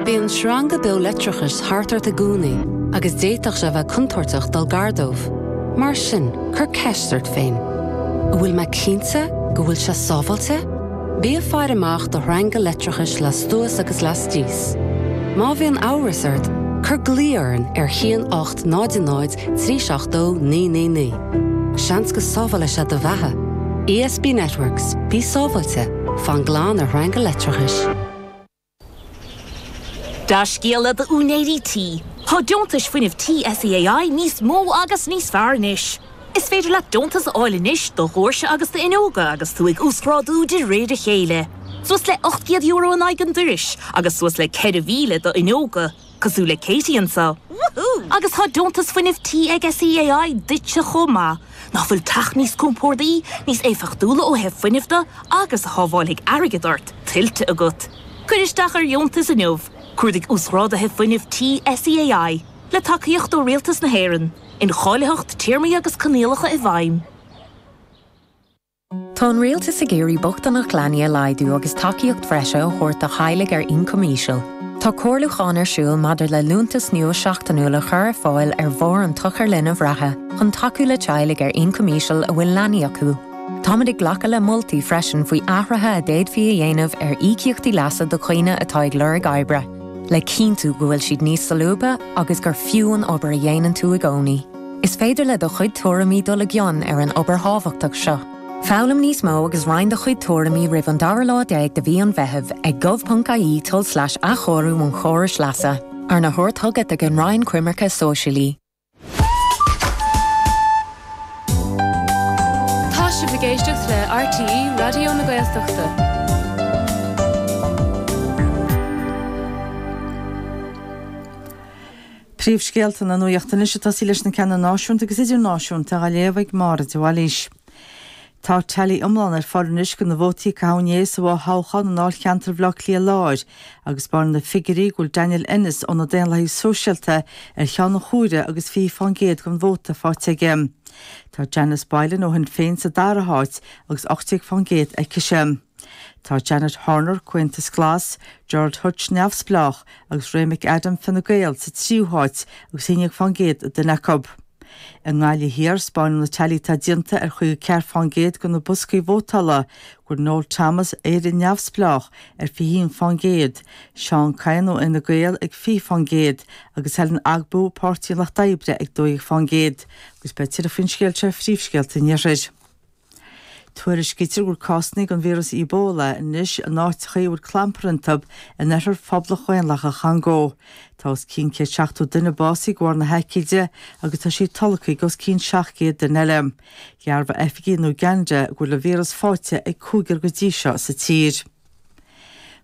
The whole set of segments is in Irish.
Bíonn sreanga beo leictreachais thart ort i gcónaí agus d'fhéadfadh sé a bheith contúirteach dul gar dóibh. Mar sin, cuir ceist ort féin, An bhfuil mé cinnte go bhfuil sé sábháilte? Bí ag faire amach do shreanga leictreachais lastuas agus lastíos. Má bhíonn amhras ort, cuir glao orainn ar 1 8 0 0 3 7 2 9 9 9. Seans go sábhálfaidh sé do bheatha. ESB Networks, bí sábháilte, fan glan ar shreanga leictreachais. Dea-scéala d'úinéirí tí! Tá deontais fuinnimh tí SEAI níos mó agus níos fearr anois. Is féidir leat deontas a fháil anois do dhoirse agus d'fhuinneoga agus tú ag uasghrádú de réir a chéile. Suas le €800 in aghaidh an dorais agus suas le 4,000 do fhuinneoga, cosúil le Katie anseo. Woohoo! Agus tá deontas fuinnimh tí ag SEAI duitse chomh maith. Nach bhfuil teach níos compordaí, níos éifeachtúla ó thaobh fuinnimh de agus a shábhálfaidh airgead ort, tuillte agat? Cuir isteach ar dheontas inniu. Cuardaigh Uasghráduithe Fuinnimh Tí SEAI, le tacaíocht ó Rialtas na hÉireann. Incháilitheacht, téarmaí agus coinníollacha i bhfeidhm. Tá an Rialtas ag iarraidh bochtaineacht leanaí a laghdú agus tacaíocht bhreise a thabhairt do theaghlaigh ar ioncam íseal. Tá comhairliúchán ar siúl maidir le liúntas nua seachtainiúil a chur ar fáil ar bharr an tSochair Linbh reatha chun tacú le teaghlaigh ar ioncam íseal a bhfuil leanaí acu. Táimid ag glacadh le moltaí freisin faoi athruithe a d'fhéadfaí a dhéanamh ar íocaíochtaí leasa do dhaoine atá ag lorg oibre, le cinntiú go bhfuil siad níos solúbtha agus gur fiú an obair a dhéanann tú i gcónaí. Is féidir le do chuid tuairimí dul i gcion ar an obair thábhachtach seo. Foghlaim níos mó agus roinn do chuid tuairimí roimh an dara lá déag de mhí an Mheithimh ag gov.ie tulslais athchóiriú an chórais leasa, arna thabhairt chugat ag an Roinn Coimirce Sóisialaí. Tá sibh ag éisteacht le RTÉ Raidió na Gaeltachta. Príomhscéalta na Nuachta anois ag tosaí leis na ceanna náisiúnta agus idirnáisiúnta á léamh ag Máire de Bhailís. Tá teailí iomlán ar fáil anois de na vótaí a caitheadh inné sa bhfo-thoghchán i ndáilcheantar Bhaile Átha Cliath Láir agus 'spáineann na figiúirí go bhfuil Daniel Ennis ó na Daonlathaigh Sóisialta ar cheann an chomhairimh agus 20% den vóta faighte aige. Tá Janice Boylan ó Shinn Féin sa dara háit agus 18% aicise. Tá Janet Horner, Comhaontas Glas, Gerald Hutch, Neamhspleách, agus Ray McAdam, Fine Gael, sa tríú háit agus 11% an duine acu. I nGaillimh Thiar, 'spáineann na teailí atá déanta ar 54% de na boscaí vótála go bhfuil Noel Thomas, Éire Neamhspleách, ar 21%, Seán Kyne ó Fhine Gael ag 20% agus Helen Ogbu, Páirtí an Lucht Oibre, ag 12%. Agus beidh tuilleadh faoin scéal seo ar Phríomhscéalta an Iarthair. Tuairiscítear go bhfuil cásanna den víreas Ebola anois in áiteacha a bhfuil clampar iontu in oirthear Phoblacht Dhaonlathach an Chongó. Tá os cionn 170 duine básaithe de bharr na haicíde agus tá sí tolgtha ag os cionn 700 duine eile. Dhearbhaigh oifigigh in Uganda go bhfuil an víreas faighte ag cúigear go dtí seo sa tír.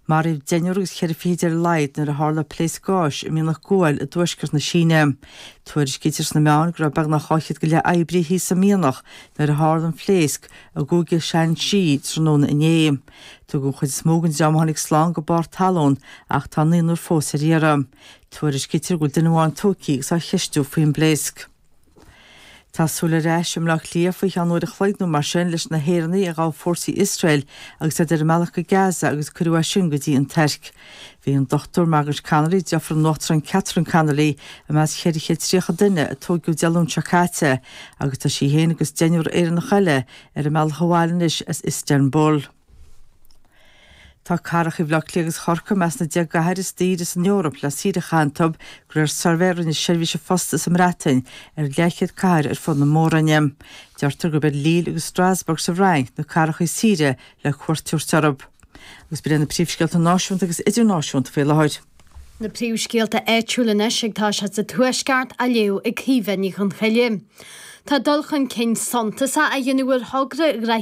Maraíodh deichniúr agus cheithre fichid ar a laghad nuair a tharla pléasc gáis i mianach guail i dtuaisceart na Síne. Tuairiscítear sna meáin go raibh beagnach 200 go leith oibrí thíos sa mhianach nuair a tharla an phléasc i gcúige Shaanxi tráthnóna inné. Tugadh an chuid is mó den dream a tháinig slán go barr talún ach tá naonúr fós ar iarraidh. Tuairiscítear go bhfuil duine amháin tógtha agus á cheistiú faoin bpléasc. Tá súil ar ais i mBleá Cliath faoi cheann uair a chloig nó mar sin leis na hÉireannaigh a ghabh fórsaí Iosrael agus iad ar a mbealach go Gaza agus cuireadh as sin go dtí an Tuirc. Bhí an Dr Margaret Connolly, deirfiúr an Uachtaráin Catherine Connolly, i measc 430 duine a tóigeadh Dé Luain seo caite agus tá sí féin agus deichniúr Éireannach eile ar a mbealach abhaile anois as Istanbul. Tá cathracha Bhaile Átha Cliath agus Chorcaí i measc na 10 gcathair is daoire san Eoraip le saoire a chaitheamh iontu, de réir suirbhé a rinne seirbhís an phosta sa mBreatain ar leathchéad cathair ar fud na mór-roinne. Deirtear gurb iad Lille agus Strasbourg sa bhFrainc na cathracha is saoire le cuairt a thabhairt orthu. Agus b'in iad na príomhscéalta náisiúnta agus idirnáisiúnta faoi láthair. Na príomhscéalta áitiúla anois ag toiseacht sa Tuaisceart á léamh ag Caoimhe Ní Chonchoille. Tá dul chun cinn suntasach á dhéanamh ar thogra.